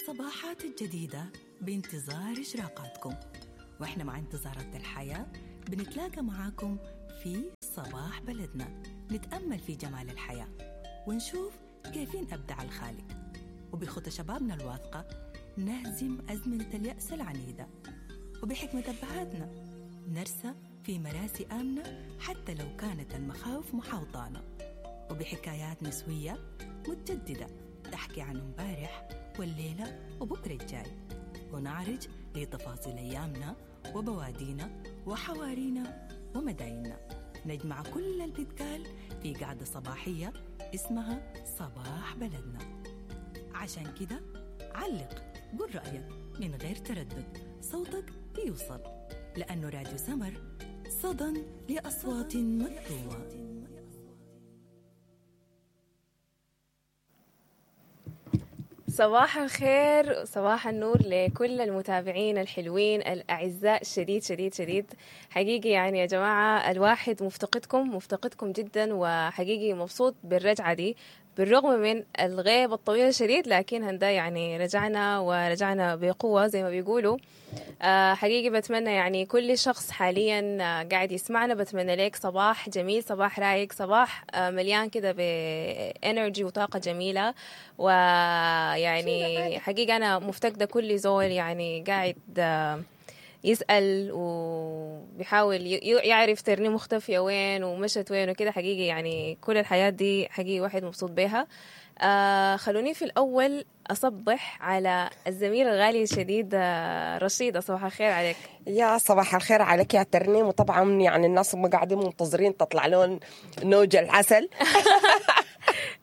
الصباحات الجديدة بانتظار إشراقاتكم، وإحنا مع انتظارات الحياة بنتلاقى معاكم في صباح بلدنا، نتأمل في جمال الحياة ونشوف كيفين أبدع الخالق، وبخطى شبابنا الواثقة نهزم أزمنة اليأس العنيدة، وبحكمة أبهاتنا نرسى في مراسي آمنة حتى لو كانت المخاوف محاوطانا، وبحكايات نسوية متجددة تحكي عن امبارح والليلة وبكرة الجاي، ونعرج لتفاصيل أيامنا وبوادينا وحوارينا ومدايننا. نجمع كل اللي بيتقال في قعدة صباحية اسمها صباح بلدنا. عشان كده علق، قول رأيك من غير تردد، صوتك بيوصل، لأنه راديو سمر صدى لأصوات مكتومة. صباح الخير، صباح النور لكل المتابعين الحلوين الأعزاء، شديد شديد شديد حقيقي. يعني يا جماعة الواحد مفتقدكم مفتقدكم جدا، وحقيقي مبسوط بالرجعة دي بالرغم من الغيبة الطويلة شديد، لكن هندا يعني رجعنا ورجعنا بقوة زي ما بيقولوا. حقيقي بتمنى يعني كل شخص حاليا قاعد يسمعنا، بتمنى لك صباح جميل، صباح رايق، صباح مليان كده ب energy وطاقة جميلة. ويعني حقيقة أنا مفتقدة كل زول يعني قاعد يسأل وبيحاول يعرف ترني مختفية وين ومشت وين وكده. حقيقي يعني كل الحياة دي حقيقي واحد مبسوط بيها. خلوني في الأول أصبح على الزميل الغالي الشديد رشيدة. صباح الخير عليك. يا صباح الخير عليك يا ترنيم. وطبعا يعني الناس ما قاعدين منتظرين تطلع لهم نوج العسل.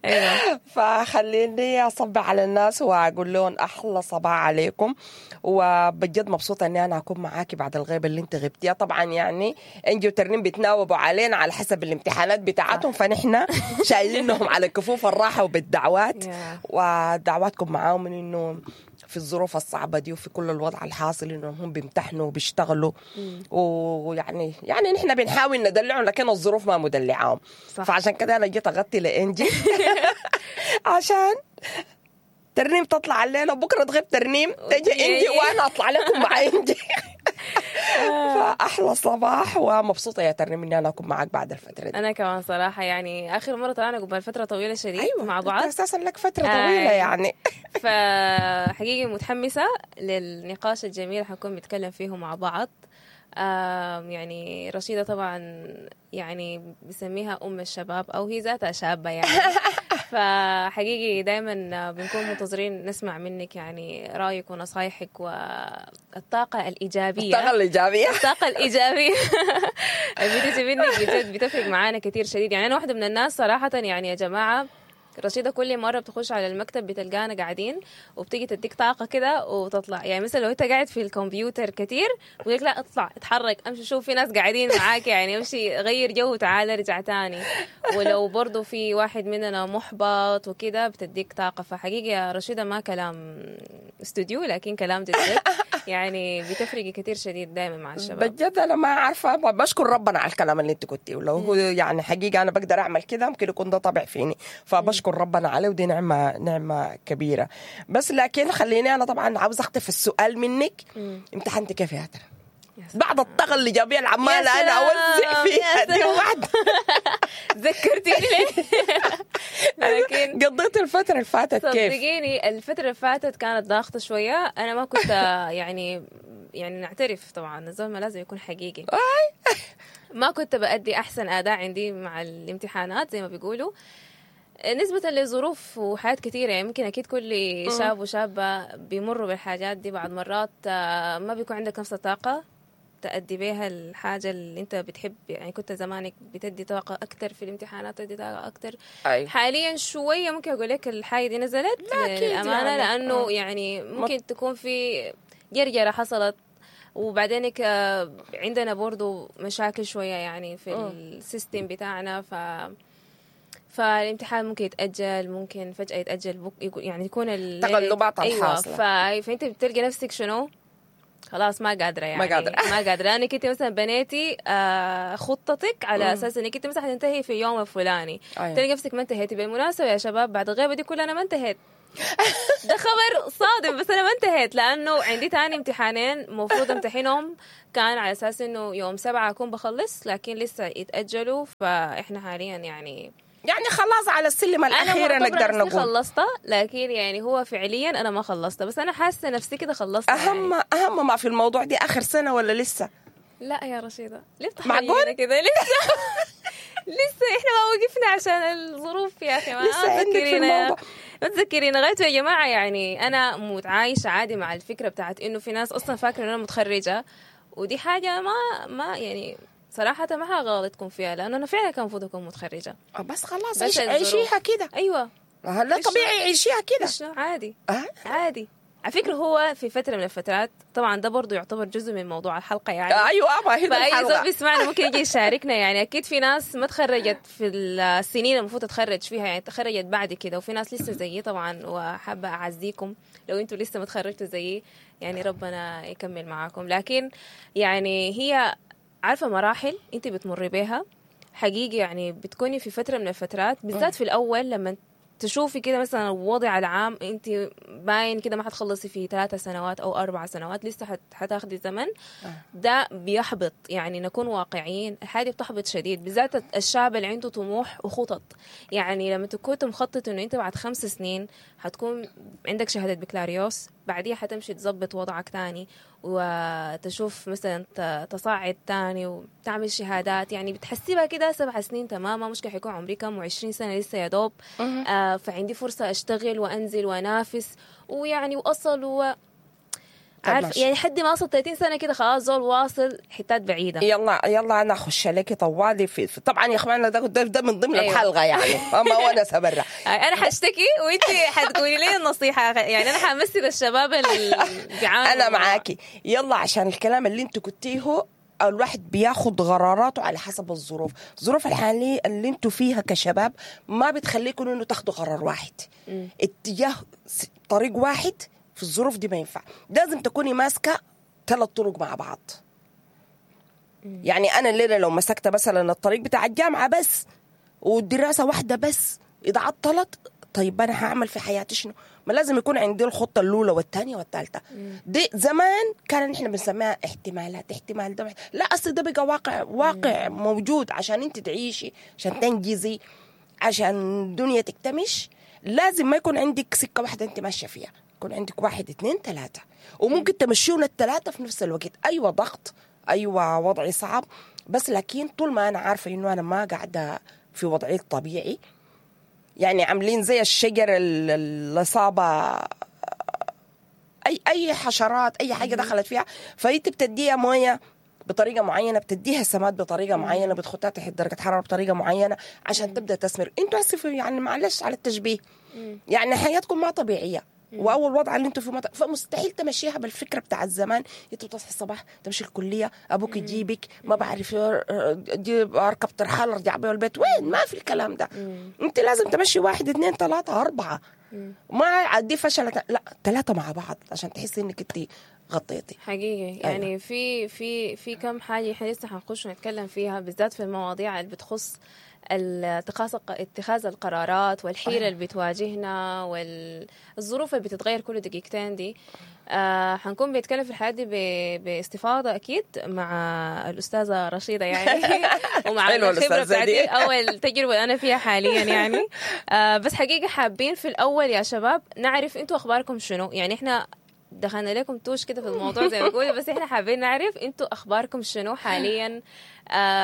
أيوة. فخليني أصبح على الناس وأقول لهم أحلى صباح عليكم، وبجد مبسوطة إني أنا أكون معاكي بعد الغيبة اللي أنت غبتيها. طبعا يعني إنجي وترنيم بيتناوبوا علينا على حسب الامتحانات بتاعتهم، فنحن شايلينهم على كفوف الراحة وبالدعوات، ودعواتكم معاهم من إنه في الظروف الصعبة دي وفي كل الوضع الحاصل إنهم هم بيمتحنوا وبيشتغلوا، ويعني يعني نحن بنحاول ندلعهم لكن الظروف ما مدلعاهم. فعشان كده أنا جيت أغطي لإنجي عشان ترنيم تطلع الليلة وبكرة تغيب ترنيم تجي إنجي وأنا أطلع لكم مع إنجي. فأحلى صباح، ومبسوطة يا ترنيم إني أنا أكون معك بعد الفترة دي. أنا كمان صراحة يعني آخر مرة طلعنا قبل فترة طويلة شديد. أيوة، مع بعض أساسا لك فترة طويلة يعني. فحقيقي متحمسة للنقاش الجميل حنكون بنتكلم فيه مع بعض. يعني رشيدة طبعا يعني بسميها أم الشباب أو هي ذاتها شابة يعني. فحقيقي دايما بنكون منتظرين نسمع منك يعني رأيك ونصايحك والطاقة الإيجابية. الطاقة الإيجابية، الطاقة الإيجابية بتيجي منك بجد بتفرق معانا كتير شديد. يعني أنا واحدة من الناس صراحة يعني يا جماعة رشيدة كل مرة بتخش على المكتب بتلقانا قاعدين وبتيجي تديك طاقة كده وتطلع. يعني مثلا لو انت قاعد في الكمبيوتر كتير بيقولك لا اطلع اتحرك امشي شوف في ناس قاعدين معاك، يعني امشي غير جو وتعالى ارجع تاني. ولو برضو في واحد مننا محبط وكده بتديك طاقة. فحقيقي يا رشيدة ما كلام استوديو لكن كلام جد يعني بتفرق كتير شديد دايما مع الشباب. بجد انا ما عارفة، بشكر ربنا على الكلام اللي انت قلتيه، ولو هو يعني حقيقة انا بقدر اعمل كده ممكن يكون ده طبع فيني، فبشكر ربنا عليه ودي نعمة نعمة كبيرة. بس لكن خليني أنا طبعا عاوز أخطف السؤال منك. امتحنتي كيف يا ترى؟ بعد الطاقة الإيجابية العمالة أنا أوزع فيها دي واحدة. ذكرتيني ليه؟ لكن قضيت الفترة اللي فاتت كيف؟ صدقيني الفترة اللي فاتت كانت ضاغطة شوية. أنا ما كنت يعني نعترف طبعا الزلمة لازم يكون حقيقي. ما كنت بأدي أحسن أداء عندي مع الامتحانات زي ما بيقولوا، نسبة لظروف وحاجات كثيرة. يعني ممكن أكيد كل شاب وشابة بيمروا بالحاجات دي. بعض مرات ما بيكون عندك نفس الطاقة تأدي بيها الحاجة اللي أنت بتحب. يعني كنت زمانك بتدي طاقة أكتر في الامتحانات، تدي طاقة أكتر. أي. حاليا شوية ممكن أقول لك الحاجة دي نزلت للأمانة، يعني. لأنه يعني ممكن تكون في جرجرة حصلت، وبعدينك عندنا برضو مشاكل شوية يعني في ال system بتاعنا. فالامتحان ممكن يتأجل، ممكن فجأة يتأجل يعني يكون التقلبات الحاصلة. أيوة. فأنت بتلقي نفسك شنو خلاص ما قادرة يعني ما قادرة لأنك أنت مثلا بنيتي خطتك على أساس أنك أنت مثلا حتنتهي في اليوم الفلاني. أيوة. تلقي نفسك ما انتهيتي. بالمناسبة يا شباب بعد الغيبة دي كلها أنا ما انتهيت. ده خبر صادم، بس انا ما انتهيت لانه عندي تاني امتحانين المفروض امتحنهم، كان على اساس انه يوم 7 اكون بخلص، لكن لسه يتاجلوا. فاحنا حاليا يعني خلاص على السلم الاخير نقدر نقول خلصت، لكن يعني هو فعليا انا ما خلصت، بس انا حاسه نفسي كده خلصت. اهم يعني. اهم ما في الموضوع دي اخر سنة ولا لسه؟ لا يا رشيده، ليه بتحكي كده؟ لسه لسه احنا ما وقفنا عشان الظروف يا اخي. ما عندك في الموضوع، ما تذكرينا غايته يا جماعة. يعني انا متعايشه عادي مع الفكرة بتاعت انه في ناس اصلا فاكره ان انا متخرجة، ودي حاجة ما يعني صراحة ما حغلطكم فيها، لانه انا فعلا كان المفروض اكون متخرجة. بس خلاص عيشيها كده. ايوه لا طبيعي عيشيها كده، عادي. عادي على فكرة. هو في فترة من الفترات طبعا ده برضو يعتبر جزء من موضوع الحلقة يعني. ايوه ما هي الحلقة، فأي زول بيسمعنا ممكن يجي يشاركنا. يعني اكيد في ناس ما تخرجت في السنين المفروض تتخرج فيها، يعني تخرجت بعد كده، وفي ناس لسه زيي طبعا، وحابة اعزيكم لو انتوا لسه ما تخرجتوا زيي، يعني ربنا يكمل معاكم. لكن يعني هي عارفة مراحل انت بتمر بيها حقيقي، يعني بتكوني في فترة من الفترات بالذات في الاول لما تشوفي كده مثلا الوضع العام انت باين كده ما حتخلصي في 3 سنوات او 4 سنوات، لسه حتاخدي زمن. ده بيحبط، يعني نكون واقعيين، الحاجة بتحبط شديد، بالذات الشاب اللي عنده طموح وخطط. يعني لما تكون مخطط انه انت بعد 5 سنين حتكون عندك شهادة بكالوريوس، بعديها حتمشي تظبط وضعك تاني وتشوف مثلا تصاعد تاني وتعمل شهادات، يعني بتحسبها كده 7 سنين تماما، مش حيكون عمري كم و20 سنة لسه يا دوب. فعندي فرصة أشتغل وأنزل وأنافس ويعني وأصل عارف يعني حد ما وصل 30 سنة كده خلاص زول واصل حتات بعيدة. يلا يلا أنا أخش لك طوالي في طبعا يا إخواننا ده من ضمن. أيوة. الحلقة يعني ما وأنا سبرة. أنا حشتكي وأنت حتقولي لي النصيحة، يعني أنا حمثل الشباب اللي بيعانوا. أنا معاكي. يلا عشان الكلام اللي أنت كنتيه، الواحد بياخد قراراته على حسب الظروف. الظروف الحالية اللي انتوا فيها كشباب ما بتخليكم انه تاخدوا قرار واحد، اتجاه طريق واحد. في الظروف دي ما ينفع، لازم تكوني ماسكة 3 طرق مع بعض. يعني أنا الليلة لو مسكت مثلا الطريق بتاع الجامعة بس والدراسة واحدة بس، إذا عطلت طيب أنا هعمل في حياتي شنو؟ ما لازم يكون عندي الخطة الأولى والثانية والثالثة. دي زمان كان نحن بنسميها احتمالات، احتمال ده، لا أصل ده بقى واقع، واقع موجود. عشان أنت تعيشي، عشان تنجزي، عشان الدنيا تكتمش، لازم ما يكون عندك سكة واحدة أنت ماشية فيها، يكون عندك 1 2 3، وممكن تمشيون ال3 في نفس الوقت. أيوة ضغط، أيوة وضعي صعب، بس لكن طول ما أنا عارفة إنه أنا ما قاعدة في وضعي الطبيعي، يعني عاملين زي الشجر اللي صابة أي حشرات، أي حاجة دخلت فيها، فأنت بتديها موية بطريقة معينة، بتديها سماد بطريقة معينة، بتحطها تحت درجة حرارة بطريقة معينة عشان تبدأ تثمر. انتوا اسفوا يعني معلش على التشبيه، يعني حياتكم ما طبيعية، واول وضع اللي انتوا فيه فمستحيل تمشيها بالفكرة بتاع الزمان. انت بتصحي الصباح تمشي الكلية، ابوك يجيبك، ما بعرف اركب ترحال ارجع بيه البيت، وين؟ ما في الكلام ده. انت لازم تمشي 1 2 3 4، ما عدي فشلت، لا 3 مع بعض عشان تحسي انك انت غطيتي حقيقي. يعني أيوة. في في في كم حاجة احنا لسه حنخش ونتكلم فيها، بالذات في المواضيع اللي بتخص اتخاذ القرارات والحيرة اللي بتواجهنا والظروف اللي بتتغير كل دقيقتين دي. حنكون بنتكلم في الحياة دي باستفاضة أكيد مع الأستاذة رشيدة يعني ومع الخبرة بتاعتي، أول تجربة أنا فيها حاليا يعني. بس حقيقة حابين في الأول يا شباب نعرف أنتوا أخباركم شنو. يعني إحنا دخلنا لكم توش كده في الموضوع زي ما بقول، بس احنا حابين نعرف انتوا اخباركم شنو حاليا.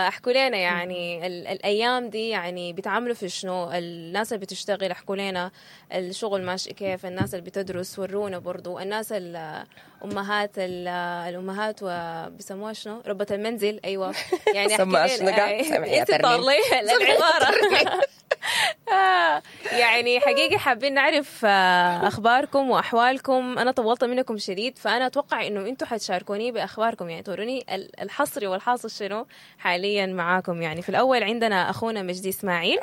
احكوا لنا يعني الايام دي يعني بتعملوا في شنو، الناس اللي بتشتغل احكوا لنا الشغل ماشي كيف، الناس اللي بتدرس ورونا برضو، الناس الامهات الامهات وبسموها شنو، ربة المنزل. ايوه يعني احكي لنا انت طلعي العبارة. يعني حقيقي حابين نعرف أخباركم وأحوالكم. أنا طولت منكم شديد، فأنا أتوقع إنه أنتوا حتشاركوني بأخباركم، يعني توروني الحصري والحاصل شنو حاليا معاكم. يعني في الأول عندنا أخونا مجدي إسماعيل.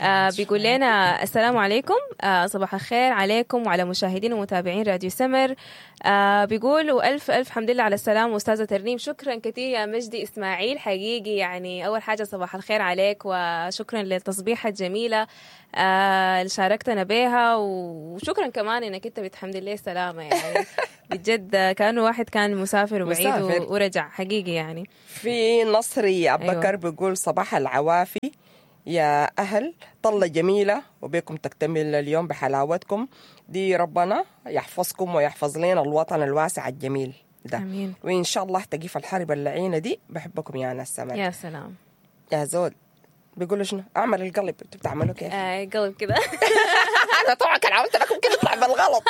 أيوة. بيقول لنا السلام عليكم، صباح الخير عليكم وعلى مشاهدين ومتابعين راديو سمر. بيقول وألف ألف حمد لله على السلامة أستاذة ترنيم. شكرا كثير يا مجدي إسماعيل، حقيقي يعني أول حاجة صباح الخير عليك وشكرا للتصبيحة الجميلة. الجميلة اللي شاركتنا بيها، وشكرا كمان انك انت بتحمد لي السلامة يعني. بجد كانه واحد كان مسافر وبعيد مسافر. ورجع حقيقي يعني. في نصري ابو أيوة. بكر بيقول صباح العوافي يا أهل، طلة جميلة وبكم تكتمل اليوم بحلاوتكم دي، ربنا يحفظكم ويحفظ لنا الوطن الواسع الجميل ده. امين. وإن شاء الله تقيف الحرب اللعينة دي. بحبكم يا ناس سمر. يا سلام. يا زول بيقولوا شنو؟ أعمل القلب، انتوا بتعملوا كيف؟ قلب كده. انا طبعا كان عملت لكم كده يطلع بالغلط.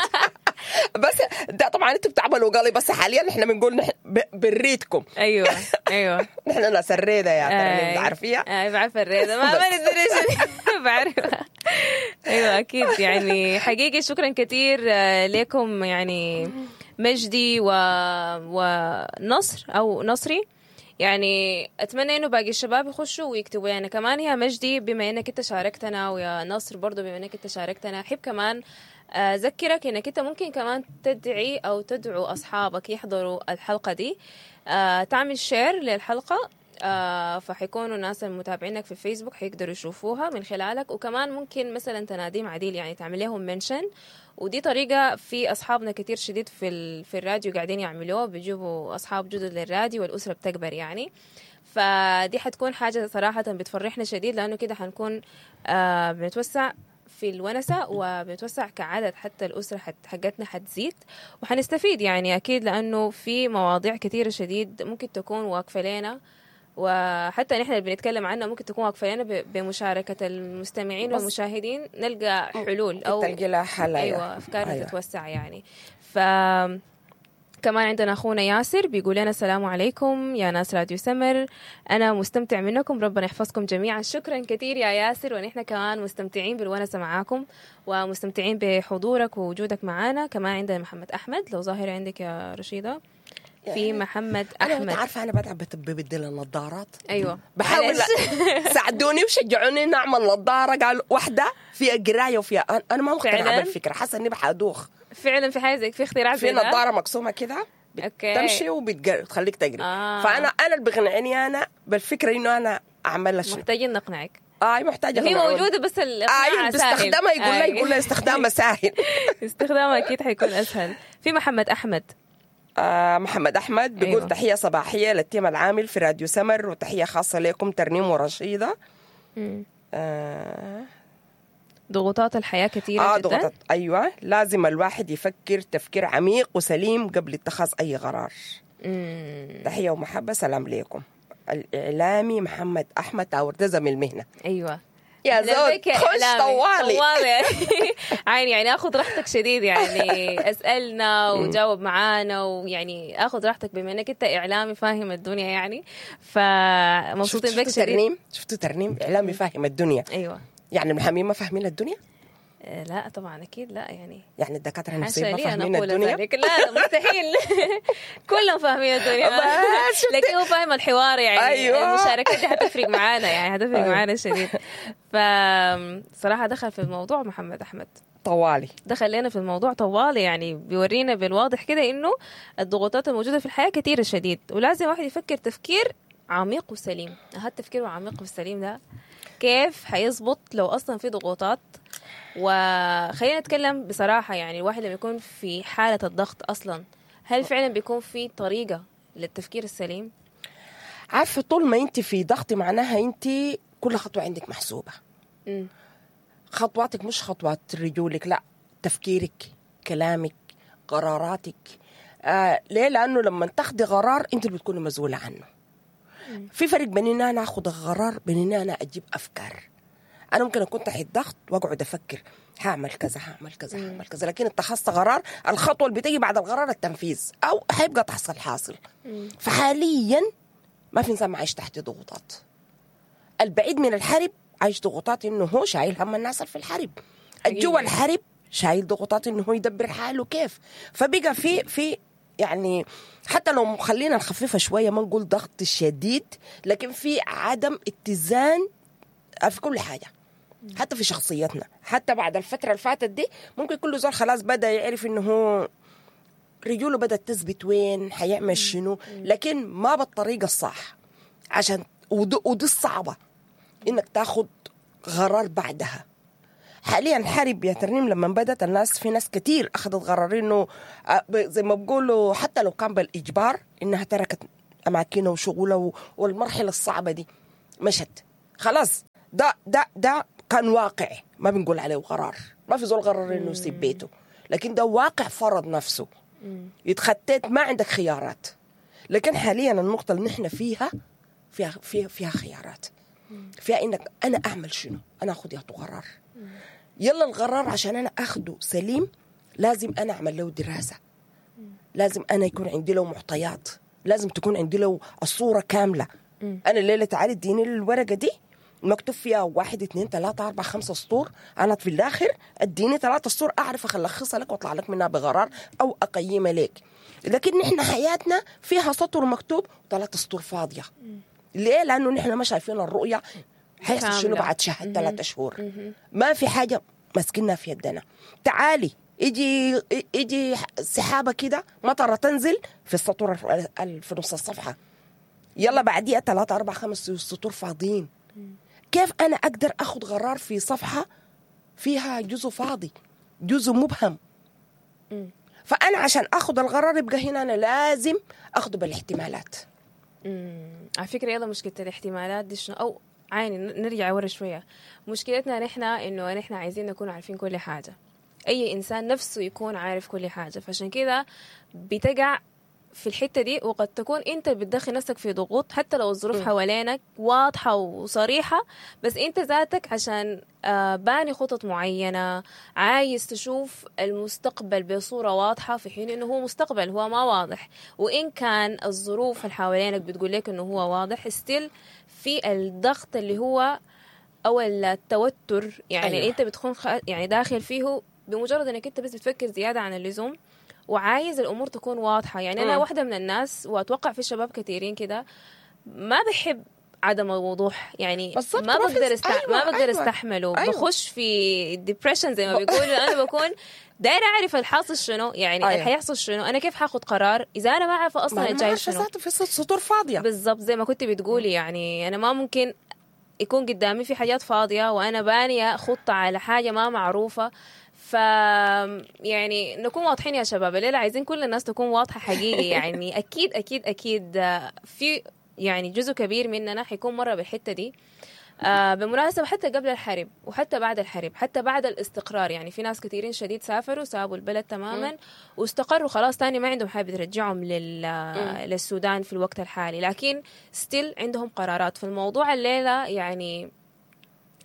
بس ده طبعا انتوا بتعملوا قلب، بس حاليا احنا بنقول نحن بريتكم. ايوه ايوه. نحن ناس الريده يا ترى بتعرفيها؟ بعرف الريدة، ما بس. ما ندري بعرفها. ايوه اكيد يعني حقيقي شكرا كثير لكم يعني مجدي ونصر او نصري. يعني اتمنى انه باقي الشباب يخشوا ويكتبوا لنا كمان. يا مجدي بما انك انت شاركتنا، ويا نصر برضو بما انك انت شاركتنا، احب كمان اذكرك انك انت ممكن كمان تدعي او تدعو اصحابك يحضروا الحلقة دي، تعمل share للحلقة، فحيكونوا الناس المتابعينك في الفيسبوك حيقدروا يشوفوها من خلالك. وكمان ممكن مثلا تناديهم عديل، يعني تعمل لهم mention، ودي طريقة في أصحابنا كتير شديد في الراديو قاعدين يعملوها، بيجيبوا أصحاب جدد للراديو والأسرة بتكبر يعني. فدي حتكون حاجة صراحة بتفرحنا شديد، لأنه كده حنكون بنتوسع في الونسة وبنتوسع كعدد، حتى الأسرة حقتنا حتزيد وحنستفيد يعني أكيد، لأنه في مواضيع كثيرة شديد ممكن تكون واقفة لنا، وحتى نحن اللي بنتكلم عنها ممكن تكون واقفة لنا، بمشاركة المستمعين بس والمشاهدين نلقى حلول أو تلقي لها حل. أيوة أفكارنا أيوة. تتوسع يعني. ف كمان عندنا أخونا ياسر بيقول لنا السلام عليكم يا ناس راديو سمر، أنا مستمتع منكم، ربنا يحفظكم جميعا. شكرا كثير يا ياسر، ونحن كمان مستمتعين بالونسة معاكم ومستمتعين بحضورك ووجودك معانا. كمان عندنا محمد أحمد، لو ظاهر عندك يا رشيدة في محمد انا أحمد. انت عارفه انا بتعب ببدل النظارات. أيوة بحاول معلش. ساعدوني وشجعوني اني اعمل نظاره، قالوا واحدة فيها قرايه وفيها انا ما مقتنعة فعلاً؟ بالفكرة، حاسه اني بحدوخ. فعلا في حاجة زي في اختراع في زي ده؟ نظاره مقسومة كده okay. بتمشي وبتخليك تقري. آه. فانا اللي بيقنعني انا بالفكرة انه انا اعملها شنو. محتاجين نقنعك. محتاجه هي أقنعوني. موجودة بس الإقناع ايوه سهل. بستخدمها، يقول لي يقول لي استخدامها سهل. استخدامها أكيد حيكون أسهل. في محمد أحمد. محمد احمد بيقول أيوة. تحية صباحية لل team العامل في راديو سمر، وتحية خاصة لكم ترنيم ورشيده. ضغوطات الحياة كثيرة جدا. ضغطت. ايوه لازم الواحد يفكر تفكير عميق وسليم قبل اتخاذ اي قرار. تحية ومحبه، سلام لكم. الاعلامي محمد احمد تاور، ده زميل المهنة. ايوه يا أهلاً زول بك يا خش إعلامي. طوالي. طوالي يعني اخذ راحتك شديد، يعني اسالنا وجاوب معانا، ويعني اخذ راحتك بما انك انت اعلامي فاهم الدنيا يعني، فمبسوطين بك شفتوا شديد. ترنيم؟ شفتوا ترنيم اعلامي فاهم الدنيا؟ ايوه. يعني المحامين ما فاهمين الدنيا؟ لا طبعا اكيد لا يعني. يعني الدكاترة حاشا النفسيين ما لي ان فاهمين اقول الدنيا؟ ذلك، لا لا مستحيل. كلهم فاهمين الدنيا. بس شفتي؟ لكن هو فاهم الحوار يعني. أيوة. المشاركات دي حتفرق معانا يعني، حتفرق أيوة. معانا شديد. فصراحة دخل في الموضوع محمد أحمد، طوالي دخل لنا في الموضوع طوالي، يعني بيورينا بالواضح كده انه الضغوطات الموجودة في الحياة كثيرة شديد، ولازم الواحد يفكر تفكير عميق وسليم. هذا التفكير العميق والسليم ده كيف حيزبط لو اصلا في ضغوطات؟ وخلينا نتكلم بصراحة، يعني الواحد لما يكون في حالة الضغط اصلا، هل فعلا بيكون في طريقة للتفكير السليم؟ عارفه طول ما انت في ضغط معناها انت كل خطوة عندك محسوبة. خطواتك مش خطوات رجولك، لا، تفكيرك، كلامك، قراراتك. ليه؟ لانه لما تاخدي قرار انت اللي بتكوني مسؤولة عنه. في فرق بين ان انا اخذ القرار بين ان انا اجيب افكار. انا ممكن اكون تحت ضغط واقعد افكر هعمل كذا هعمل كذا هعمل كذا، لكن اتخذت قرار، الخطوة اللي بتيجي بعد القرار التنفيذ، او حيبقى تحصل حاصل. فحاليا ما في انسان عايش تحت ضغوطات. البعيد من الحرب عايش ضغوطات انه هو شايل هم الناس اللي في الحرب، الجوا الحرب شايل ضغوطات انه هو يدبر حاله كيف. فبقى في يعني حتى لو خلينا نخففها شوية، ما نقول ضغط شديد، لكن في عدم اتزان في كل حاجة، حتى في شخصيتنا. حتى بعد الفترة اللي فاتت دي ممكن كل زول خلاص بدا يعرف انه هو رجوله بدات تثبت وين حيعمل شنو، لكن ما بالطريقة الصح. عشان ودي الصعبة انك تاخد قرار بعدها. حاليا الحرب يا ترنيم لما بدت الناس، في ناس كتير اخذت قرار انه زي ما بقولوا حتى لو كان بالاجبار انها تركت اماكنها وشغلها والمرحلة الصعبة دي مشت خلاص. ده كان واقع، ما بنقول عليه قرار، ما في زول قرر انه يسيب بيته، لكن ده واقع فرض نفسه. يتخطيت، ما عندك خيارات. لكن حاليا النقطة اللي نحن فيها فيها فيها, فيها خيارات، فيها انك انا اعمل شنو، انا اخذ يا قرار. يلا القرار عشان انا اخده سليم لازم انا اعمل له دراسة، لازم انا يكون عندي له معطيات، لازم تكون عندي له الصورة كاملة. انا الليلة تعالي اديني الورقة دي مكتوب فيها 1 2 3 4 5 سطور، انا في الاخر اديني 3 سطور اعرف الخصها لك واطلع لك منها بقرار او اقيمها لك. لكن نحن حياتنا فيها سطر مكتوب وثلاث سطور فاضية. ليه؟ لانه نحن ما شايفين الرؤية حيحصل شنو بعد شهر 3 شهور. ما في حاجة ماسكينها في يدنا. تعالي يجي سحابه كده، مطره تنزل في السطور في نص الصفحة، يلا بعديها 3 4 5 سطور فاضيين. كيف انا اقدر اخذ قرار في صفحة فيها جزء فاضي، جزء مبهم؟ فانا عشان اخذ القرار يبقى هنا انا لازم اخذه بالاحتمالات. على فكرة يلا مشكلة الاحتمالات دي شنو؟ او عيني نرجع ورا شوية. مشكلتنا نحن انه نحن عايزين نكون عارفين كل حاجة، اي انسان نفسه يكون عارف كل حاجة، فعشان كده بتقع في الحتة دي. وقد تكون انت بتدخل نفسك في ضغوط حتى لو الظروف حوالينك واضحة وصريحة، بس انت ذاتك عشان باني خطط معينة، عايز تشوف المستقبل بصورة واضحة، في حين انه هو مستقبل هو ما واضح. وان كان الظروف اللي حوالينك بتقول لك انه هو واضح، still في الضغط اللي هو او التوتر يعني. أيوة. انت بتكون يعني داخل فيه بمجرد انك انت بس بتفكر زيادة عن اللزوم وعايز الأمور تكون واضحة. يعني أنا واحدة من الناس، وأتوقع في شباب كثيرين كده، ما بحب عدم الوضوح. يعني ما بقدر ما بقدر استحمله. أيوة. بخش في depression زي ما بيقولوا. أنا بكون دايرة أعرف الحاصل شنو، يعني أيوة. حيحصل شنو، أنا كيف حاخد قرار إذا أنا ما عارفة أصلا الجاي شنو. في سطور فاضية بالضبط زي ما كنت بتقولي. يعني أنا ما ممكن يكون قدامي في حاجات فاضية وأنا بانية خطة على حاجة ما معروفة. ف يعني نكون واضحين يا شباب، الليلة عايزين كل الناس تكون واضحة حقيقي. يعني أكيد أكيد أكيد في يعني جزء كبير مننا حيكون مرة بالحتة دي. بمناسبة حتى قبل الحرب وحتى بعد الحرب، حتى بعد الاستقرار، يعني في ناس كثيرين شديد سافروا سابوا البلد تماما واستقروا خلاص، تاني ما عندهم حاجة ترجعهم للسودان في الوقت الحالي، لكن ستيل عندهم قرارات. في الموضوع الليلة يعني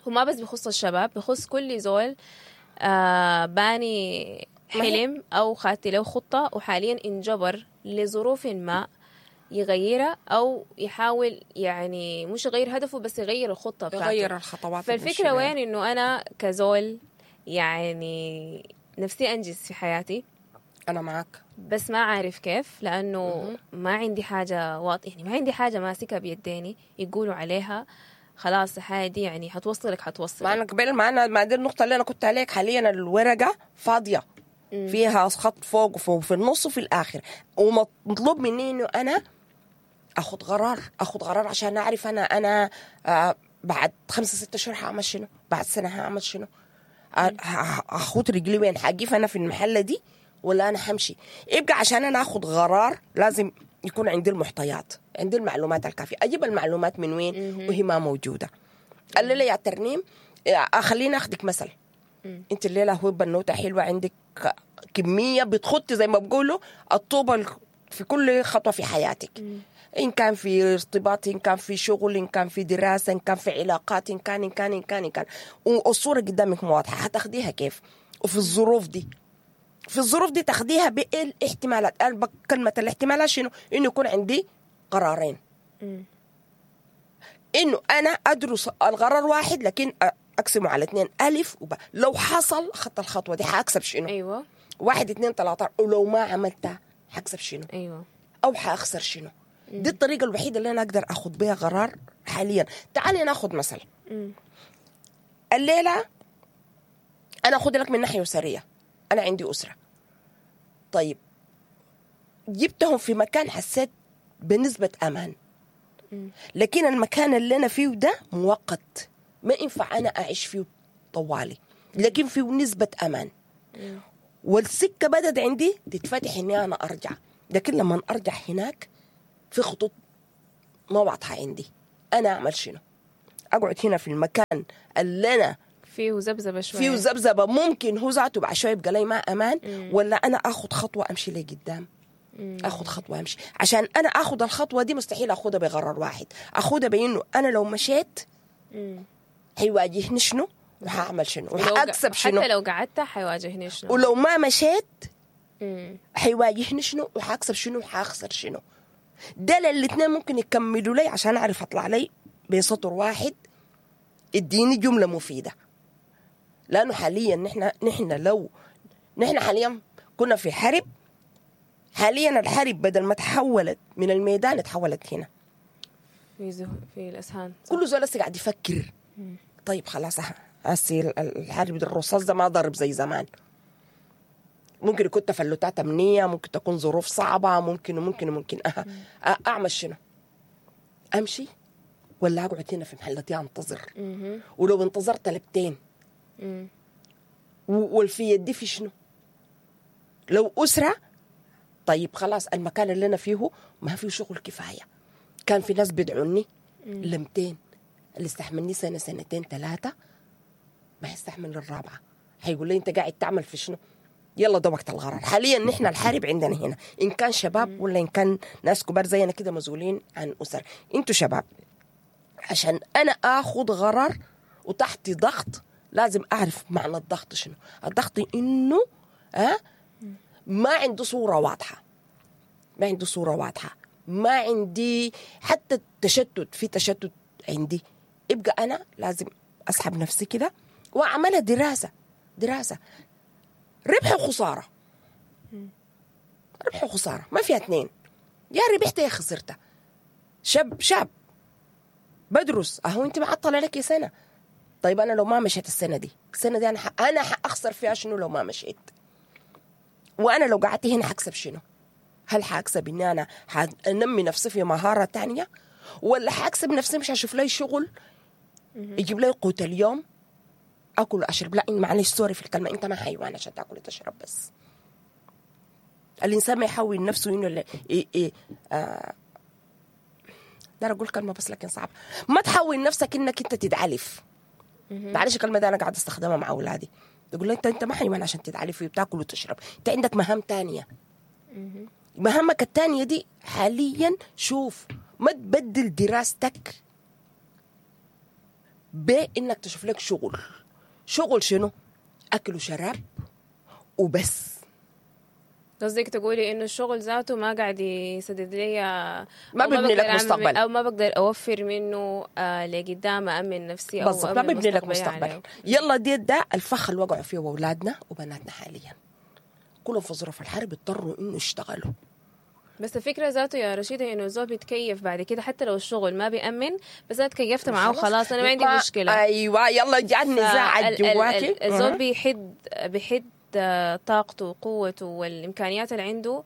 هو ما بس بخص الشباب، بخص كل زول باني حلم أو خاتي له خطة وحاليا انجبر لظروف ما يغيرها أو يحاول، يعني مش يغير هدفه بس يغير الخطة بتاعته، يغير الخطوات. فالفكرة وين؟ إنه أنا كزول يعني نفسي أنجز في حياتي، أنا معك، بس ما عارف كيف، لأنه ما عندي حاجة واضحة، يعني ما عندي حاجة ماسكة بيديني يقولوا عليها خلاص الحاجة دي يعني حتوصلك حتوصلك. ما أنا قبل ما أنا ما دي النقطة اللي أنا كنت عليك. حاليا الورقة فاضية، فيها خط فوق وفي النص وفي الآخر، ومطلوب مني إنه أنا أخذ قرار، أخذ قرار عشان أعرف أنا بعد 5 6 شهور هعمل شنو، بعد سنة هعمل شنو، أخد رجلي وين، حقيف أنا في المحلة دي ولا أنا حمشي. يبقى عشان أنا أخذ قرار لازم يكون عندي المحتويات، عندي المعلومات الكافية. أجيب المعلومات من وين وهي ما موجودة؟ الليلة يا ترنيم خليني أخذك مثل. أنت الليلة هو بنوتة حلوة، عندك كمية بتخطي زي ما بقولوا الطوبة في كل خطوة في حياتك، إن كان في ارتباط، إن كان في شغل، إن كان في دراسة، إن كان في علاقات، إن كان إن كان إن كان إن كان، والصورة قدامك واضحة، هتاخديها كيف؟ وفي الظروف دي، في الظروف دي تاخديها بالاحتمالات. أنا كلمة الاحتمالات شنو؟ إنه يكون عندي قرارين، إنه أنا أدرس القرار واحد لكن أقسمه على 2، ألف وب. لو حصل خط الخطوة دي حأكسب شنو؟ أيوة، 1 2 3. ولو ما عملتها حأكسب شنو؟ أيوة، أو حأخسر شنو؟ دي الطريقة الوحيدة اللي أنا أقدر أخذ بها قرار حاليا. تعالي ناخذ مثل. الليلة أنا أخذ لك من ناحية أسرية، أنا عندي أسرة، طيب جبتهم في مكان حسيت بنسبة أمان، لكن المكان اللي أنا فيه ده مؤقت، ما ينفع انا اعيش فيه طوالي، لكن فيه نسبه امان. والسكه بدت عندي تتفتح اني انا ارجع، لكن لما ارجع هناك في خطوط ما واضحة عندي، انا اعمل شنو؟ اقعد هنا في المكان اللي انا فيه ذبذبة شوية، فيه ذبذبة، ممكن هو ذاته بعد شوية يبقى لي ما امان، ولا انا اخذ خطوة امشي لقدام؟ اخذ خطوة امشي، عشان انا اخذ الخطوة دي مستحيل اخذها بقرار واحد، اخذها بانه انا لو مشيت حيواجهني شنو وحاعمل شنو وحاكسب شنو، حتى لو قعدت حيواجهني شنو، ولو ما مشيت حيواجهني شنو وحاكسب شنو وحاخسر شنو. ده الاثنين ممكن يكملوا لي عشان اعرف اطلع لي بسطر واحد اديني جملة مفيدة. لانه حاليا نحن لو نحن حاليا كنا في حرب، حاليا الحرب بدل ما تحولت من الميدان تحولت هنا في الاسهان، كل زول لسه قاعد يفكر. طيب خلاص هسي الحرب الرصاص ده ما ضرب زي زمان، ممكن يكون تفلتات امنية، ممكن تكون ظروف صعبة، ممكن وممكن وممكن. اعمل شنو؟ امشي ولا اقعد هنا في محلتي انتظر؟ ولو انتظرت لبتين والفي يدي في شنو؟ لو اسره، طيب خلاص المكان اللي انا فيه ما فيه شغل كفاية، كان في ناس بيدعوني لمتين، اللي استحملني سنة سنتين ثلاثة ما يستحمل الرابعة، هيقول لي انت قاعد تعمل في شنو؟ يلا ده وقت القرار. حاليا نحن الحرب عندنا هنا، ان كان شباب ولا ان كان ناس كبار زينا كده مسؤولين عن اسر. انتوا شباب، عشان انا اخذ قرار وتحت ضغط لازم اعرف معنى الضغط شنو. الضغط انه ما عنده صوره واضحة، ما عنده صوره واضحة، ما عندي حتى التشتت، في تشتت عندي. يبقى انا لازم اسحب نفسي كده واعملها دراسة، دراسة ربح وخسارة، ربح وخسارة، ما فيها اثنين، يا ربحت يا خسرت. شاب بدرس اهو، انت معطلة لك سنة، طيب انا لو ما مشيت السنة دي، السنة دي انا حاخسر فيها شنو لو ما مشيت؟ وانا لو قعدت هنا حكسب شنو؟ هل حاكسب اني انا حانمي نفسي في مهارة تانية، ولا حاكسب نفسي مش هشوف لي شغل يجيب لي قوت اليوم اكل واشرب؟ لا معلش sorry في الكلمة، انت ما حيوان عشان تاكل وتشرب بس. الانسان ما يحول نفسه انه دار اقول كلمة بس لكن صعب، ما تحول نفسك انك انت تتعلف. معلش الكلمة دي انا قاعد استخدمها مع اولادي، يقول لي انت ما حيوان عشان تتعلف وتاكل وتشرب، انت عندك مهام تانية. مهامك التانية دي حاليا شوف ما تبدل دراستك بانك تشوف لك شغل. شغل شنو؟ اكل وشراب وبس. قصدك تقولي انه الشغل ذاته ما قاعد يسدد لي، ما بيبني لك مستقبل، او ما بقدر اوفر منه لقدام امن نفسي، او ما بيبني لك مستقبل يعني. يلا دي ده الفخ اللي وقعوا فيه اولادنا وبناتنا حاليا، كلهم في ظروف الحرب اضطروا انه يشتغلوا. بس الفكرة ذاته يا رشيدة إنه الزول بيتكيف بعد كده، حتى لو الشغل ما بيأمن، بس أنا تكيفت معاه وخلاص، أنا ما عندي مشكلة. أيوة يلا جاء النزاع جواكي. الزول بيحد طاقته وقوته والإمكانيات اللي عنده،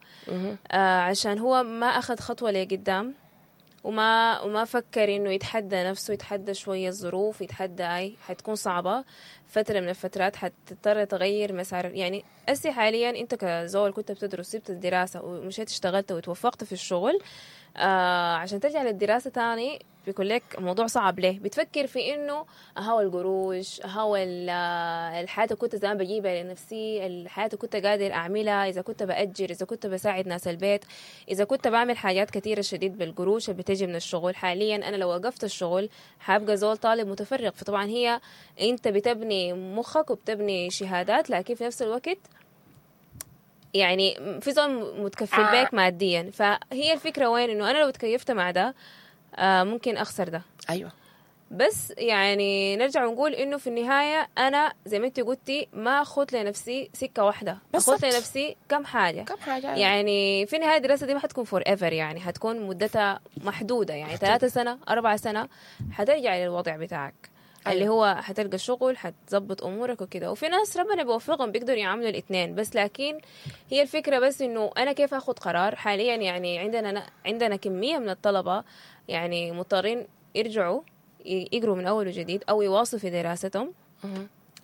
عشان هو ما أخذ خطوة لقدام، وما فكر إنه يتحدى نفسه، يتحدى شوية الظروف، يتحدى أي حتكون صعبة فترة من الفترات، حتضطر تغير مسار. يعني أسي حاليا أنت كزول كنت بتدرس، سبت الدراسة ومشيت اشتغلت وتوفقت في الشغل، عشان ترجع للدراسة تاني بيكون لك موضوع صعب. ليه؟ بتفكر في إنه هو القروش، هو الحياة اللي كنت زمان بجيبها لنفسي، الحياة اللي كنت قادر أعملها، إذا كنت بأجر، إذا كنت بساعد ناس البيت، إذا كنت بعمل حاجات كثيرة شديد بالقروش اللي بتجي من الشغل. حاليا أنا لو وقفت الشغل حابقى زول طالب متفرغ. فطبعا هي أنت بتبني مخك وبتبني شهادات، لكن في نفس الوقت يعني في زول متكفل بيك ماديا. فهي الفكرة وين؟ إنه أنا لو تكيفت مع ده ممكن أخسر ده. أيوة. بس يعني نرجع ونقول إنه في النهاية أنا زي ما أنت قلتي ما أخذ لنفسي سكة واحدة، أخذ لنفسي كم حاجة، كم حاجة. يعني في النهاية الدراسة دي ما حتكون forever، يعني حتكون مدتها محدودة، يعني 3 سنة 4 سنة حترجع للوضع بتاعك. أيوة. اللي هو حتلقى شغل، حتظبط أمورك وكده. وفي ناس ربنا بيوفقهم بيقدروا يعملوا الاثنين. بس لكن هي الفكرة بس إنه أنا كيف أخذ قرار حاليا. يعني عندنا كمية من الطلبة يعني مضطرين يرجعوا يقروا من اول وجديد او يواصلوا في دراستهم،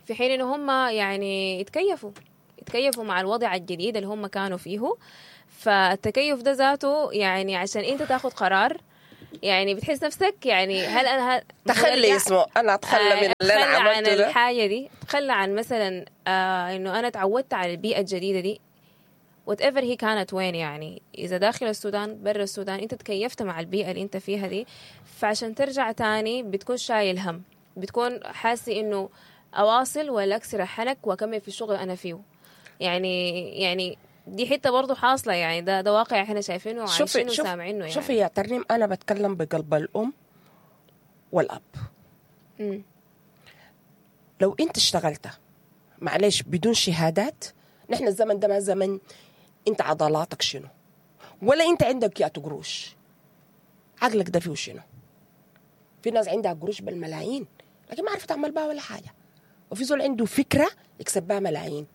في حين انه هم يعني يتكيفوا مع الوضع الجديد اللي هم كانوا فيه. فالتكيف ده ذاته يعني عشان انت تاخد قرار، يعني بتحس نفسك يعني هل انا تخلي اسمه انا اتخلى من اللي انا عملته ده، الحاجة دي، اتخلى عن مثلا انه انا اتعودت على البيئة الجديدة دي whatever هي كانت وين، يعني اذا داخل السودان برا السودان انت تكيفت مع البيئة اللي انت فيها دي. فعشان ترجع تاني بتكون شايل هم، بتكون حاسي انه اواصل ولا اكسر حنك واكمل في الشغل انا فيه. يعني دي حتة برضو حاصله، يعني ده واقع احنا شايفينه وعايشينه وسامعينه. يعني شوفي يا ترنيم، انا بتكلم بقلب الام والاب. لو انت اشتغلت معلش بدون شهادات، نحن الزمن ده ما زمن انت عضلاتك شنو ولا انت عندك يا قروش، عقلك ده فيه شنو. في ناس عندها قروش بالملايين لكن ما عرفت تعمل بها ولا حاجة، وفي زول عنده فكرة يكسب بها ملايين.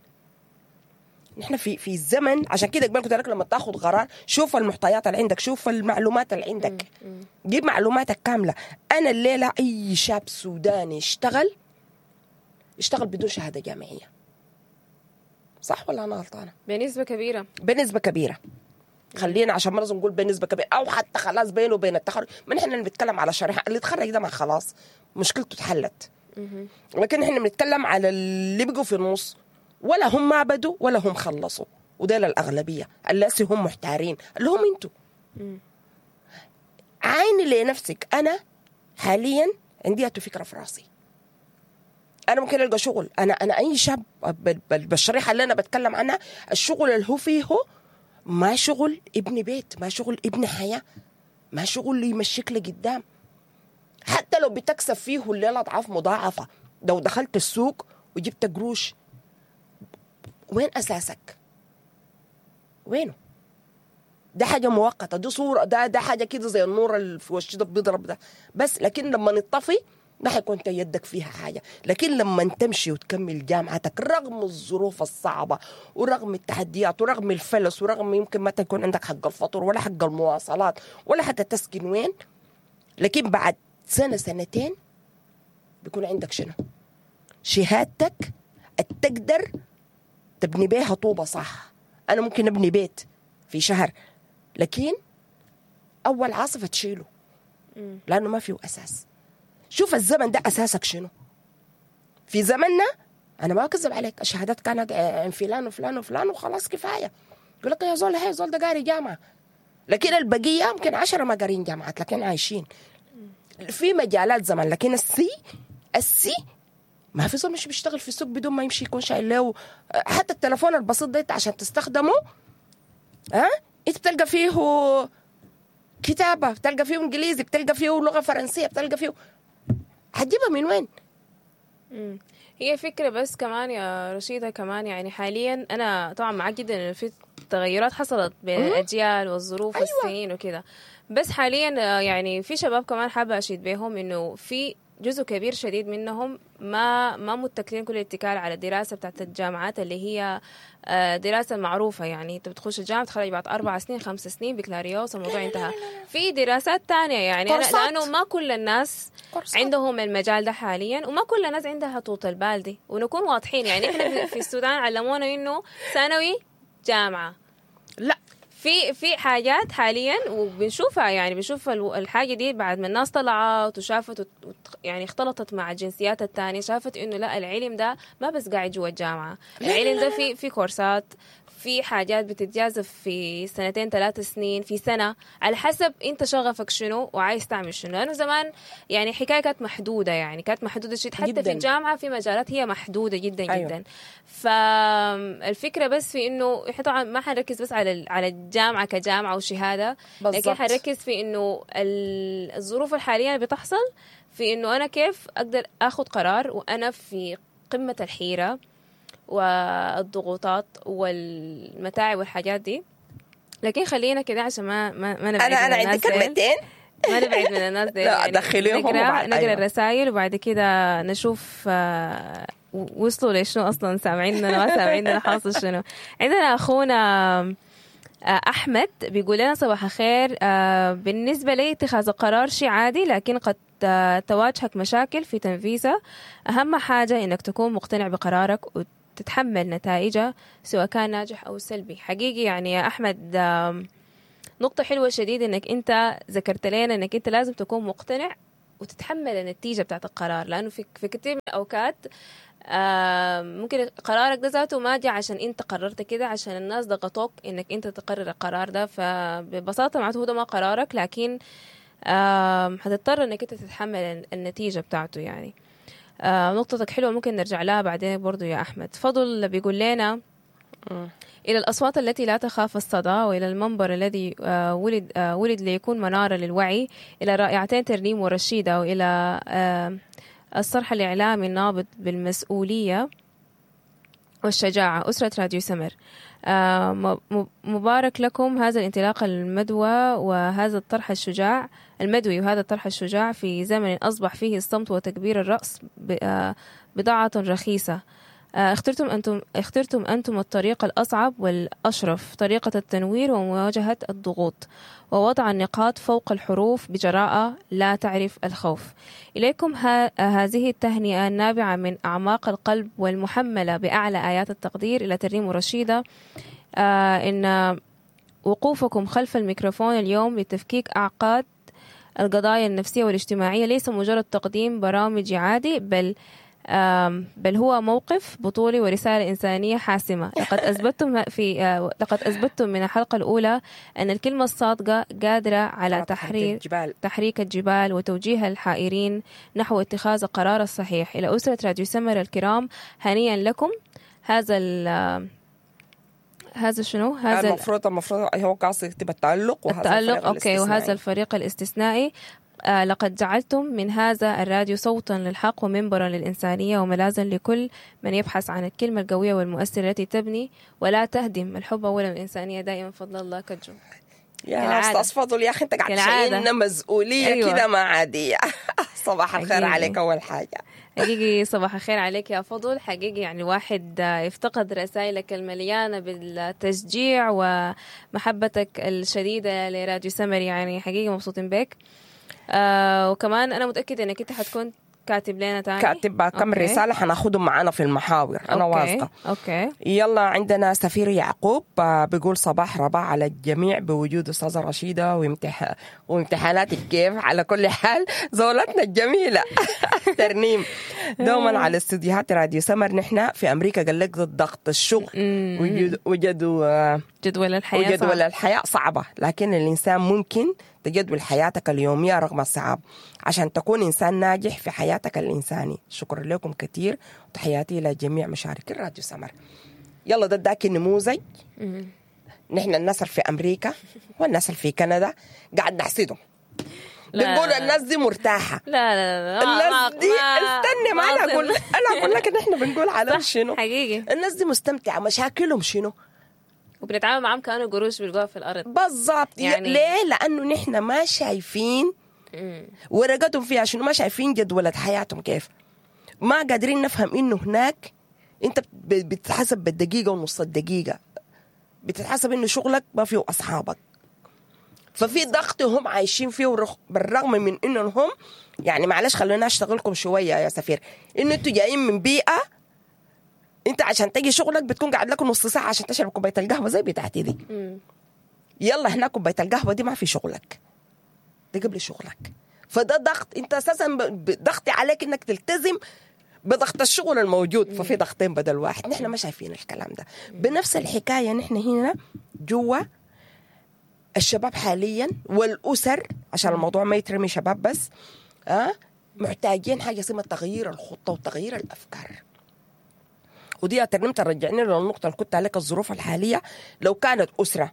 نحن في الزمن، عشان كده قبل قلت لك لما تاخذ قرار شوف المعطيات اللي عندك، شوف المعلومات اللي عندك، جيب معلوماتك كاملة. انا الليلة اي شاب سوداني اشتغل بدون شهادة جامعية، صح ولا انا غلطانة؟ بنسبة كبيرة، بنسبة كبيرة. خلينا عشان ما لازم نقول بنسبة كبيرة او حتى خلاص بينه وبين التخرج، ما نحن بنتكلم على شريحة اللي تخرج ده ما خلاص مشكلته اتحلت، لكن احنا بنتكلم على اللي بقوا في النص، ولا هم ما بدوا ولا هم خلصوا، وديل الأغلبية اللي هم محتارين اللي هم انتوا. عيني لنفسك. أنا حاليا عندي فكرة في راسي، أنا ممكن ألقى شغل. أنا أي شاب بالشريحة اللي أنا بتكلم عنها، الشغل اللي هو فيه ما شغل ابن بيت، ما شغل ابن حياة، ما شغل اللي يمشيك لقدام. حتى لو بتكسب فيه الليلة أضعاف مضاعفة، لو دخلت السوق وجبت قروش، وين أساسك؟ وينه؟ ده حاجة مؤقتة، دي صورة، ده حاجة كده زي النور اللي في وش ده بيضرب ده بس، لكن لما نطفي ما حيكون يدك فيها حاجة. لكن لما تمشي وتكمل جامعتك رغم الظروف الصعبة ورغم التحديات ورغم الفلس ورغم يمكن ما تكون عندك حق الفطور ولا حق المواصلات ولا حتى تسكن وين، لكن بعد سنة سنتين بيكون عندك شنو؟ شهادتك تقدر تبني بيها طوبة صح. أنا ممكن أبني بيت في شهر، لكن أول عاصفة تشيله لأنه ما فيه أساس. شوف الزمن ده أساسك شنو. في زمننا أنا ما أكذب عليك، الشهادات كانت عن فلان وفلان وفلان وخلاص كفاية. يقول لك يا زول هاي زول ده قاري جامعة، لكن البقية يمكن 10 ما قارين جامعات لكن عايشين في مجالات زمان. لكن السي ما في زول مش بيشتغل في السوق بدون ما يمشي يكون شايل له حتى التلفون البسيط ده عشان تستخدمه. ها انت بتلقى فيه كتابة، بتلقى فيه انجليزي، بتلقى فيه لغة فرنسية، بتلقى فيه، هتجيبها من وين؟ هي فكرة بس كمان يا رشيدة، كمان يعني حاليا أنا طبعا معاك جدا إنه في تغيرات حصلت بين الأجيال والظروف والسنين وكده، بس حاليا يعني في شباب كمان حابة أشيد بيهم إنه في جزء كبير شديد منهم ما متكلين كل الاتكال على الدراسة بتاعت الجامعات اللي هي دراسة معروفة. يعني انت بتخش الجامعة تخرج بعد 4 سنين 5 سنين بكالوريوس الموضوع انتهى. في دراسات تانية يعني لأنه ما كل الناس عندهم المجال ده حاليا، وما كل الناس عندها طولة البال دي، ونكون واضحين يعني احنا في السودان علمونا انه ثانوي جامعة، لا في حاجات حاليا وبنشوفها، يعني بنشوف الحاجة دي بعد ما الناس طلعت وشافت يعني اختلطت مع الجنسيات التانية، شافت انه لا العلم ده ما بس قاعد جوا الجامعة، العلم ده في كورسات، في حاجات بتتجازف في 2 3 سنين، في سنة، على حسب انت شغفك شنو وعايز تعمل شنو. لانه زمان يعني حكاية كانت محدودة، يعني كانت محدودة شيء حتى جداً. في الجامعة في مجالات هي محدودة جدا. أيوة. جدا. فالفكرة بس في انه احنا طبعا ما حنركز بس على الجامعة كجامعة وشهادة، لكن حنركز في انه الظروف الحالية اللي بتحصل، في انه انا كيف اقدر اخذ قرار وانا في قمة الحيرة والضغوطات والمتاعب والحاجات دي. لكن خلينا كده عشان ما نبعد. انا عندي كلمتين، ما نبعد من الناس دي. لا دخليهم نقرا أيوة. الرسائل وبعد كده نشوف وصلوا لشنو اصلا، سامعيننا ما سامعيننا، حاصل شنو. عندنا اخونا احمد بيقول لنا صباح الخير. بالنسبة لي اتخاذ القرار شيء عادي، لكن قد تواجهك مشاكل في تنفيذها. أهم حاجة إنك تكون مقتنع بقرارك وتتحمل نتائجها سواء كان ناجح أو سلبي. حقيقي يعني يا أحمد، نقطة حلوة شديد إنك أنت ذكرت لنا إنك أنت لازم تكون مقتنع وتتحمل النتيجة بتاعت القرار، لأنه في كثير من الأوقات ممكن قرارك ده ذاته ما جاء عشان انت قررت كده، عشان الناس ضغطوك انك انت تقرر القرار ده. فببساطة معناته هو ده ما قرارك، لكن حتضطر انك انت تتحمل النتيجة بتاعته يعني. نقطتك حلوة، ممكن نرجع لها بعدين برضو يا أحمد. فضل بيقول لنا إلى الأصوات التي لا تخاف الصدى، وإلى المنبر الذي ولد ليكون منارة للوعي، إلى رائعتين ترنيم ورشيدة، وإلى الصرح الإعلامي النابض بالمسؤولية والشجاعة، أسرة راديو سمر. مبارك لكم هذا الانطلاق المدوى وهذا الطرح الشجاع المدوي، وهذا الطرح الشجاع في زمن أصبح فيه الصمت وتكبير الرأس بضاعة رخيصة. اخترتم أنتم الطريق الأصعب والأشرف، طريقة التنوير ومواجهة الضغوط ووضع النقاط فوق الحروف بجراءة لا تعرف الخوف. إليكم هذه التهنئة النابعة من أعماق القلب والمحملة بأعلى آيات التقدير إلى ترنيم ورشيدة. إن وقوفكم خلف الميكروفون اليوم لتفكيك أعقاد القضايا النفسية والاجتماعية ليس مجرد تقديم برامج عادي، بل هو موقف بطولي ورسالة إنسانية حاسمة. لقد أثبتتم من الحلقة الأولى أن الكلمة الصادقة قادرة على تحريك الجبال وتوجيه الحائرين نحو اتخاذ القرار الصحيح. إلى أسرة راديو سمر الكرام، هنيئا لكم. هذا هذا شنو؟ هذا المفروض هو قاصد يكتب التألق، وهذا التألق، okay، وهذا الفريق الاستثنائي. لقد جعلتم من هذا الراديو صوتا للحق ومنبرا للإنسانية وملاذا لكل من يبحث عن الكلمة القوية والمؤثرة التي تبني ولا تهدم الحب أولا الإنسانية دائما. فضل الله كجو. يا أستاذ فضل، يا أخي أنت قاعد تشيلنا مسؤولية أيوة. كده ما عادية. صباح الخير حقيقي عليك أول حاجة. حقيقي صباح الخير عليك يا فضل. حقيقي يعني الواحد يفتقد رسائلك المليانة بالتشجيع ومحبتك الشديدة لراديو سمر، يعني حقيقي مبسوطين بك. وكمان أنا متأكدة إنك أنت حتكون كاتب لنا تاني، كاتب كم رسالة حناخدهم معانا في المحاور. أنا واثقة. okay. يلا عندنا سفير يعقوب بيقول صباح رباح على الجميع بوجود أستاذة رشيدة وامتحاناتك كيف. على كل حال زولتنا الجميلة ترنيم دوما على استديوهات راديو سمر. نحن في أمريكا قال لك ضد ضغط الشغل وجدول الحياة، وجدول الحياة صعبة، لكن الإنسان ممكن تجدول حياتك اليومية رغم الصعاب عشان تكون إنسان ناجح في حياتك الإنساني. شكرا لكم كثير وتحياتي إلى جميع مشاركي راديو سمر. يلا ده داك النموذج. نحن الناس في أمريكا والناس في كندا قاعد نحسدهم، بنقول الناس دي مرتاحة. لا لا لا، الناس دي استني، ما أنا أقول لك إن إحنا بنقول على شنو حقيقي. الناس دي مستمتعة، مشاكلهم شنو، وبنتعامل معهم كأنه قروش بيلقوها في الأرض بالضبط. يعني ليه؟ لأنه نحن ما شايفين ورقتهم فيها شنو، ما شايفين جدولة حياتهم كيف، ما قادرين نفهم إنه هناك أنت بتتحسب بالدقيقة ونص الدقيقة، بتتحسب إنه شغلك ما فيه أصحابك، ففي ضغط هم عايشين فيه بالرغم من إنهم هم يعني معلش خلونا أشتغلكم شوية يا سفير، إنه أنتوا جايين من بيئة انت عشان تجي شغلك بتكون قاعد لك نص ساعة عشان تشرب كوباية القهوة زي بتاعتي دي. يلا هناك كوباية القهوة دي ما في شغلك، ده قبل شغلك. فده ضغط، انت اساسا ضغط عليك انك تلتزم بضغط الشغل الموجود. ففي ضغطين بدل واحد. نحن ما شايفين الكلام ده. بنفس الحكاية نحن هنا جوا الشباب حاليا والاسر، عشان الموضوع ما يترمي شباب بس، محتاجين حاجة اسمها تغيير الخطة وتغيير الافكار. ودي ترنمت رجعني للنقطة اللي كنت عليك، الظروف الحالية لو كانت أسرة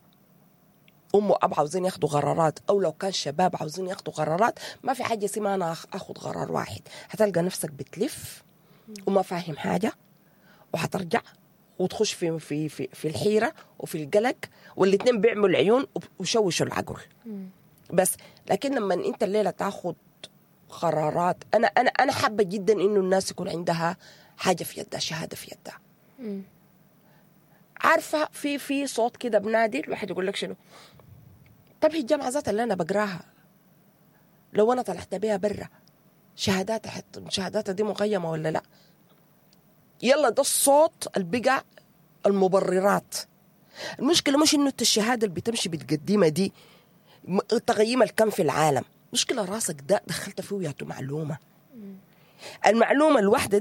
أم وأب عاوزين ياخدوا قرارات، أو لو كان شباب عاوزين ياخدوا قرارات، ما في حاجة اسمها أنا أخد قرار واحد. هتلقى نفسك بتلف وما فاهم حاجة، وهترجع وتخش في في في في الحيرة وفي القلق، والاثنين بيعملوا العيون وشوشوا العقل. بس لكن لما أنت الليلة تاخد قرارات، أنا أنا أنا حابة جدا إنه الناس يكون عندها حاجة في يدها، شهادة في يدها. عارفة في صوت كده بنادي الواحد يقول لك شنو؟ طب هي الجامعة ذاتها اللي أنا بقراها لو أنا طلعت بيها برا شهاداتها شهاداتها دي مقيمة ولا لا؟ يلا ده الصوت اللي بقى المبررات. المشكلة مش انه انت الشهادة اللي بتمشي بتقدمها دي تقييم الكم في العالم، مشكلة راسك ده دخلت فيه ياتو معلومة، المعلومة الواحدة دي.